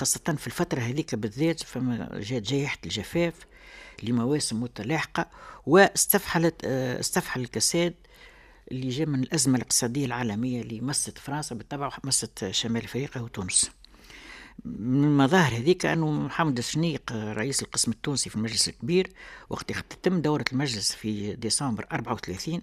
خاصة في الفترة هذيك بالذات فما جات جائحة الجفاف لمواسم متلاحقة، واستفحلت استفحل الكساد اللي جاء من الأزمة الاقتصادية العالمية اللي مست فرنسا بالطبع ومست شمال أفريقيا وتونس. من المظاهر هذيك أنه محمد الشنيق رئيس القسم التونسي في المجلس الكبير وقت تتم دورة المجلس في ديسمبر 34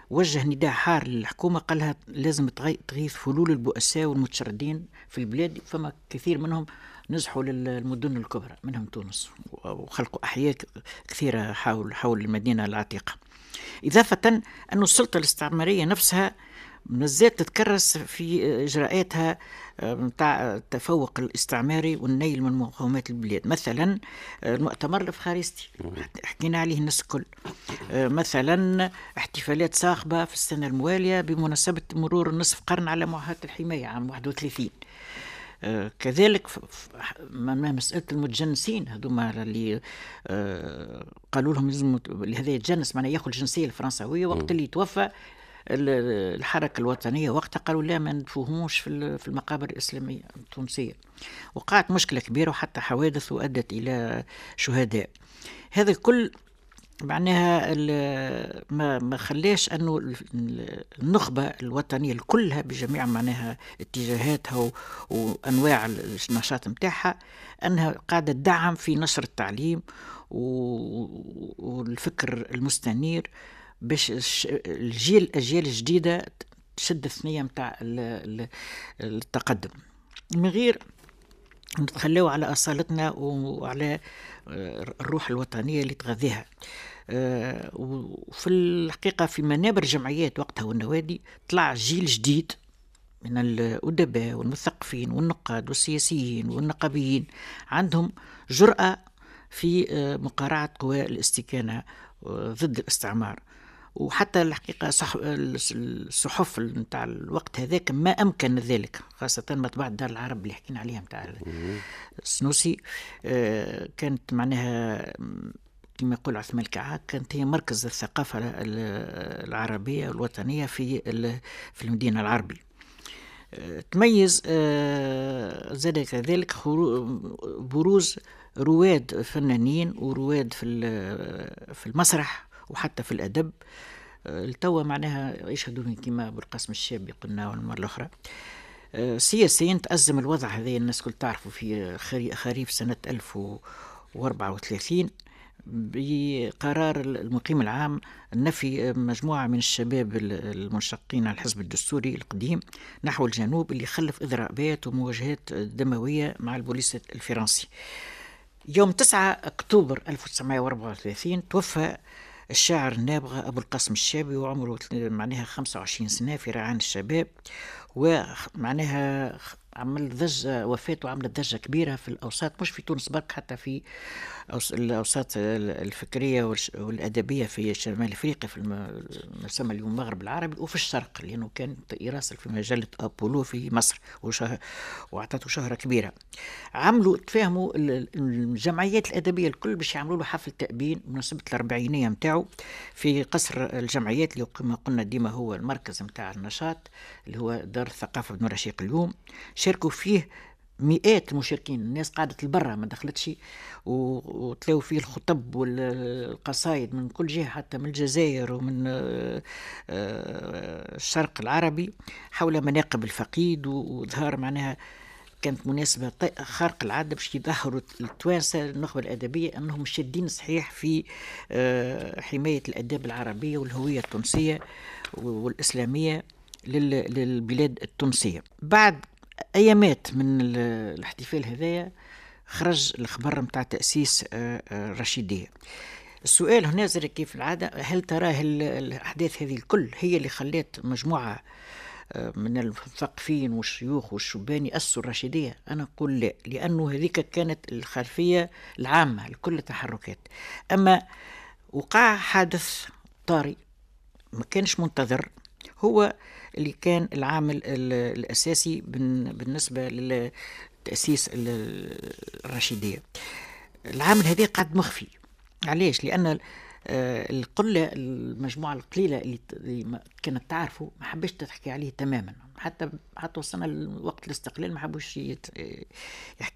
وجه نداء حار للحكومة، قال لها لازم تغيث فلول البؤساء والمتشردين في البلاد، فما كثير منهم نزحوا للمدن الكبرى منهم تونس وخلقوا أحياء كثيرة حول المدينة العتيقة. إضافة أن السلطة الاستعمارية نفسها مازالت تتكرس في إجراءاتها نتاع التفوق الاستعماري والنيل من مقومات البلاد. مثلا المؤتمر الإفخارستي حكينا عليه الناس الكل، مثلا احتفالات صاخبة في السنة الموالية بمناسبة مرور نصف قرن على معاهدة الحماية عام 31. كذلك مسألة المتجنسين هذوما اللي قالوا لهم لازم هذا يتجنس، معناها ياخذ الجنسية الفرنساوية وقت اللي توفى الحركة الوطنية وقتها قالوا لا ما ندفوهمش في المقابر الإسلامية التونسية. وقعت مشكلة كبيرة وحتى حوادث وأدت إلى شهداء. هذا الكل معناها ما خلاش انه النخبة الوطنية كلها بجميع معناها اتجاهاتها وانواع النشاط نتاعها انها قاعدة تدعم في نشر التعليم والفكر المستنير باش الاجيال الجديدة تشد الثنية نتاع التقدم من غير نتخلوا على اصالتنا وعلى الروح الوطنية اللي تغذيها. وفي الحقيقة في منابر الجمعيات وقتها والنوادي طلع جيل جديد من الأدباء والمثقفين والنقاد والسياسيين والنقابيين عندهم جرأة في مقارعة قوى الاستكانة ضد الاستعمار. وحتى الحقيقة الصحف نتاع الوقت هذاك ما أمكن ذلك، خاصة مطبعة دار العرب اللي حكينا عليها نتاع السنوسي، كانت معناها كما يقول عثمان الكعاك كانت هي مركز الثقافة العربية الوطنية في المدينة العربي. تميز زاد كذلك بروز رواد فنانين ورواد في المسرح وحتى في الأدب. التوا معناها يشهدوا كما بالقاسم الشابي قلنا والمرة الأخرى. سياسيا تأزم الوضع هذا الناس كل تعرفوا في خريف سنة 1034 بقرار المقيم العام نفي مجموعة من الشباب المنشقين على الحزب الدستوري القديم نحو الجنوب اللي خلف إضرابات ومواجهات دموية مع البوليس الفرنسي. يوم 9 أكتوبر 1934 توفى الشاعر النابغة أبو القاسم الشابي وعمره معناها 25 سنة في رعان الشباب، ومعناها عمل ضجة، وفاته عملت ضجة كبيرة في الأوساط، مش في تونس برك، حتى في الأوساط الفكرية والأدبية في شمال أفريقيا، في ما يسمى اليوم المغرب العربي، وفي الشرق، لأنه كان يراسل في مجلة أبولو في مصر وأعطته شهرة كبيرة. عملوا تفاهموا الجمعيات الأدبية الكل باش يعملوا له حفل تأبين بمناسبة الأربعينية متاعه في قصر الجمعيات اللي كما قلنا ديما هو المركز متاع النشاط اللي هو دار الثقافة بن رشيق اليوم. شاركوا فيه مئات المشاركين، الناس قعدت لبرا ما دخلتش، وتلاو فيه الخطب والقصايد من كل جهة، حتى من الجزائر ومن الشرق العربي حول مناقب الفقيد، وظهر معناها كانت مناسبة خارق العادة باش يظهروا التوانسة النخبة الأدبية أنهم شادين صحيح في حماية الآداب العربية والهوية التونسية والإسلامية للبلاد التونسية. بعد أيامات من الاحتفال هذايا خرج الخبر متاع تأسيس الرشيدية. السؤال هنا زاد كيف العادة، هل ترى الأحداث هذه الكل هي اللي خلت مجموعة من المثقفين والشيوخ والشبان يأسسوا الرشيدية؟ أنا أقول لا، لأنه هذيك كانت الخلفية العامة لكل التحركات. أما وقع حادث طارئ ما كانش منتظر، هو اللي كان العامل الأساسي بالنسبة لتأسيس الرشيدية. العامل هذا قعد مخفي. علاش؟ لأن القلة المجموعة القليلة اللي كانت تعرفه ما حبش تحكي عليه تماما، حتى وصلنا لوقت الاستقلال ما حبوش يحكيوا.